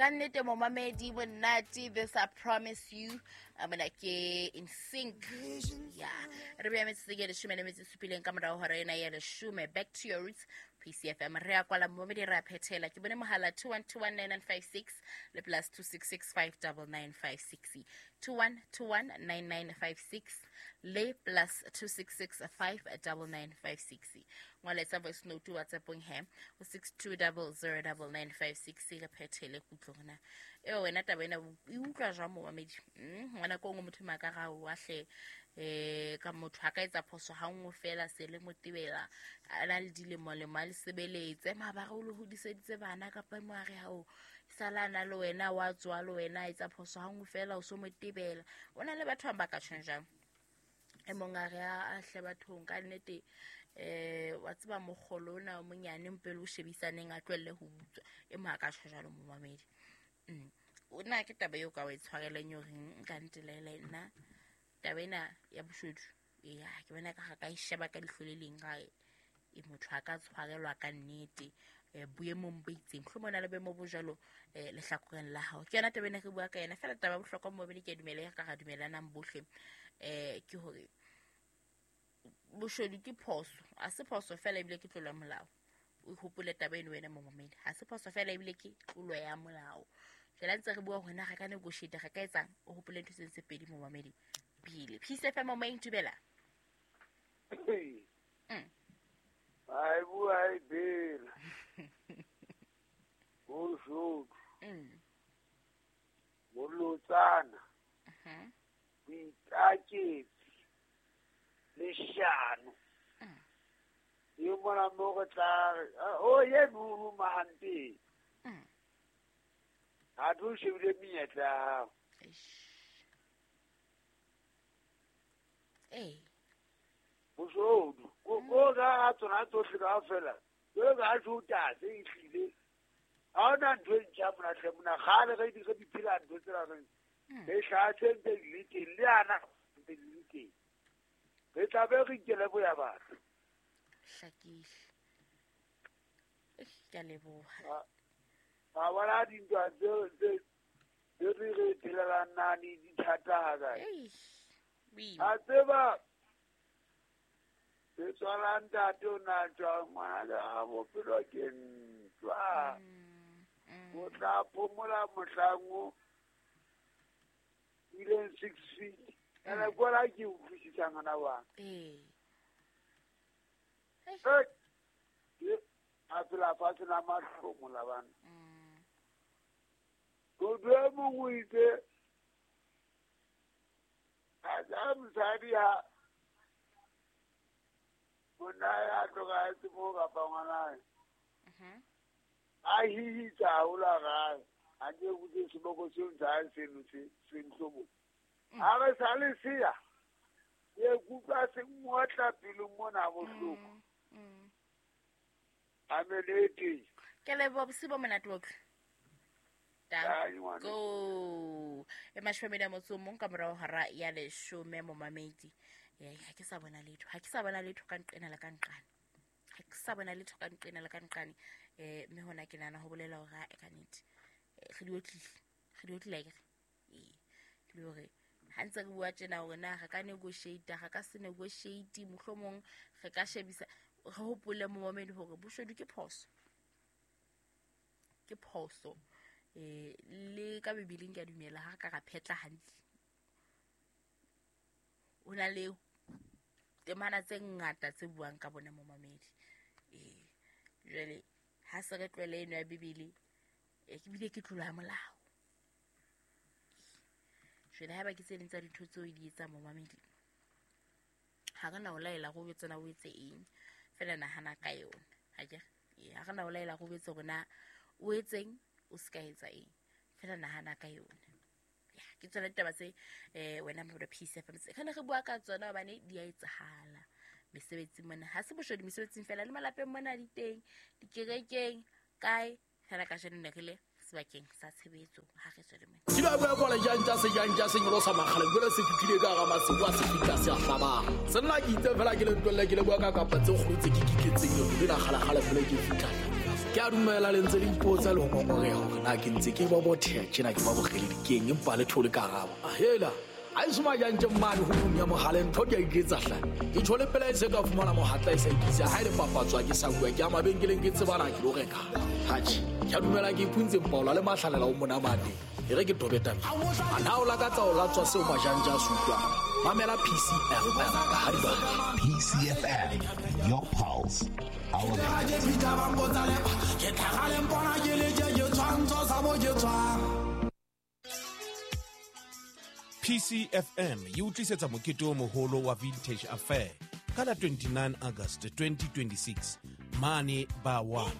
Ka nnete momamedi monate, this I promise you. Mona ke in sync. Ya re beya metsotso ke leshome le metso e supileng ka morao hora ena ya leshome. Back to your roots, PCFM. Re a kwala momamedi, re a phethela. Ke bone mohala 21219956 le plus 266599956. 21219956 le plus 266599956. Ngwaletsa voice note WhatsAppong he o 62009956, re phethele kutlo gona. Eo wena taba ena e utlwa jwang momamedi? Ngwana ko nngwe motho maka ga o ahle ka motho a ka etsa phoso ha nngwe fela se le motebela a na le dilemo lemo a le sebeletse mabare o le hodiseditse bana kapa mo a re ha o sala na le wena wa tswa le wena a etsa phoso ha nngwe fela o so motebela. O na le batho ba ka tjhong jang? E mong a re a hle bathong ka nnete, wa tseba mokgolo ona o monyane mpele o shebisaneng a tlohelle ho utswa. E mong a ka tjho jwalo momamedi. O na ke taba eo ka o e tshwareleng yo reng nka ntelele nna taba ena ya boshodu. Ya ke bona ka ga ka e sheba ka leihlo le leng ga e motho a ka tshwarelwa ka nnete boemong bo itseng. Mohlomong o na le boemo bo jwalo lehlakoreng la hao. Ke yona taba ena re bua ka yona. Feela taba ya bohlokwa momamedi, ke a dumela e ka ra dumelanang bohle, ke hore boshodu ke phoso. Ha se phoso feela ebile ke tlolo ya molao. O hopole taba eno wena momamedi. Ha se phoso feela ebile ke tlolo ya molao. Jwale ha ntse re bua hore na re ka negotiate, re ka etsang, o hopole ntho tse pedi momamedi pele. Peace FM moyeng, dumela. Ai bua e bela. Boshodu. Bolotsana. Boikaketsi. Leshano. Yo mona mo re tla re, o ye nuru mahampe. Ha tlo shebile menyetla ya hao. Boshodu. Ko ga tsona tsohle kaofela. Jwalo ka ha tjho se ehlile. Ha hona ntho e ntjha mona hle mona. Kgale re di re di phela ntho tsena re. Re hlaha tse ntse di le teng, le ana ntse di le teng. Re tla be re ikele boya batho. Hlakile. Ke a leboha. Ba bona dintwa tse tse re re phelelang nane di thata ha kae. A tseba se tswala ntate o na tswa ngwana a bophelo ke ntwa. O tla phomola mohlang o ileng 6 feet. Ene kwala ke utlwisisa ngwana wa. A phela fatshe la mahlomola bana. Motho e mong o itse a tsa mosadi ha monna ya tlokahetse moo kapa ngwanae. A hihitsa haholo a gae. A nke botse seboko seo ntse a seno se ntlhobo. A re sa le sea. Ke kutlwa se ngotla pelong mona bohloko. Amelete. Ke leboha bosiu bo monate bohle. Go. E mashome a motso mong ka morao hora ya leshome momamedi. Ha ke sa bona letho. Ha ke sa bona letho ka nqena le ka nqane. Ha ke sa bona letho ka nqena le ka nqane. Mme hona ke nahana ho bolela hore ha e ka nnete. Re di otlile. Re di otlile akere. Le hore ha ntse re bua tjena hore na re ka negotiate, re ka se negotiate, mohlomong re ka shebisa, re hopole momamedi hore boshodu ke phoso. Ke phoso. Le ka Bibeleng ke a dumela ha re ka ra phetla hantle. O na le temana tse ngata tse buang ka bona momamedi. Jwale ha se re tlwele eno ya Bibele, ke bile ke tlolo ya molao. Jwale haeba ke tse ding tsa dintho tseo di etsang momamedi, ha re na o laela go tsena o etse eng, fela nahana ka yona. Ha ke re, ha re na o laela go etse hore na o etseng, o se ka etsa eng, fela nahana ka yona. Ya, ke tsona ditaba tse wena Mabura Peace FM tse re ne re bua ka tsona hobane di a etsahala mesebetsing mona. Ha se boshodu mesebetsing fela, le malapeng mona di teng, dikerekeng, kae. Fela kajeno ne re le sebakeng sa tshebetso ha re tswele mona. Ke ba bua kwala jang tsa se jang tsa se nyolosa makgale, jwale se fihlile ka hara masiu a se fihla se a hlabang. Se nna ke itse fela ke le ntwelle, ke le bua ka kapa tse kgolo tse ke kitletseng yone, le la kgalakgale fela ke fihla. Ke a dumela le ntse le ipotsa le ho ngongoreha hore na ke ntse ke bobotheha tjena ke ba bokgeledi keng empa le thole karabo. Ahela, ha eso majantje mmane ho ya mohale ntho di a iketsa hle. Ke tjho le pela e se ka fumana mohatla e sa ikisa ha e le papatswa ke sa bua ke a mabenkeleng ke tsebana ke lo reka. Hatjhe, ke a dumela ke ipuntse mpaola le mahlalela o monamate. E re ke tobe tabeng. A na o lakatsa ho latswa seo majantje a se utlwang? Mamela PCFM ka ha di batla. PCFM, your pulse, our beat. PCFM e o tlisetsa mokete o moholo wa Vintage Affair ka la 29 August 2026 mane ba 1.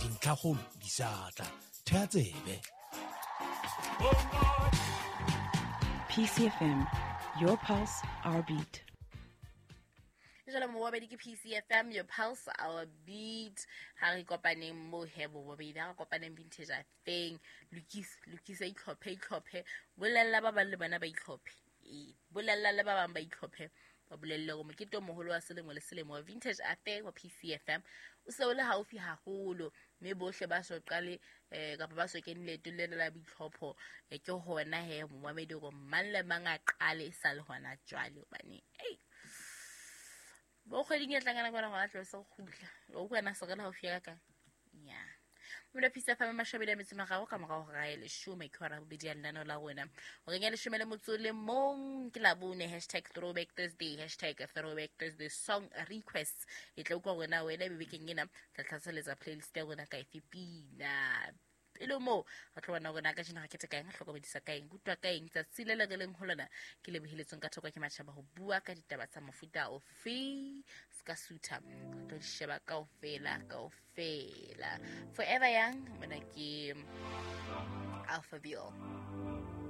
Dintlhakgolo di sa tla. Thea tsebe. PCFM, your pulse, our beat. Jalo mobabedi ke PCFM, your pulse, our beat. Ha re kopaneng mo he bobabedi, ha re kopaneng Vintage Affair. Lokisa itlhophe. Bolella ba bang le bona ba itlhophe. Ee, bolella le ba bang ba itlhophe. Ba bolelle hore mokete o moholo wa selemo le selemo wa Vintage Affair wa PCFM o se o le haufi haholo, mme bohle ba so qale kapa ba so kene leetong lena la boitlhopho. Ke hona he momamedi hore mang le mang a qale e sa le hona jwale, hobane ei bo kgweding e tlang ka nako ena gona tlo se kgutla. O utlwa na se re le haufi ya ka kang? Ya. Mona Peace FM mashobedi a metso mararo ka morao hora ya leshome ke hora bobedi ya lenaneo la rona. Horeng ya leshome le motso le mong ke Labone, hashtag throwback Thursday, hashtag throwback Thursday song requests. E tla utlwa hore na wena ebe bekeng ena tla tlhaseletsa playlist ya rona ka efe pina. Pele moo re tlo bona hore na kajeno re kete ka eng, re hlokomedisa ka eng, rutwa ka eng. Tsatsi le le re leng ho lona ke leboheletsweng ka thoko ke matjhaba ho bua ka ditaba tsa mofuta ofe, se ka sutha, re tlo di sheba kaofela, kaofela. Forever Young, mona ke Alphaville.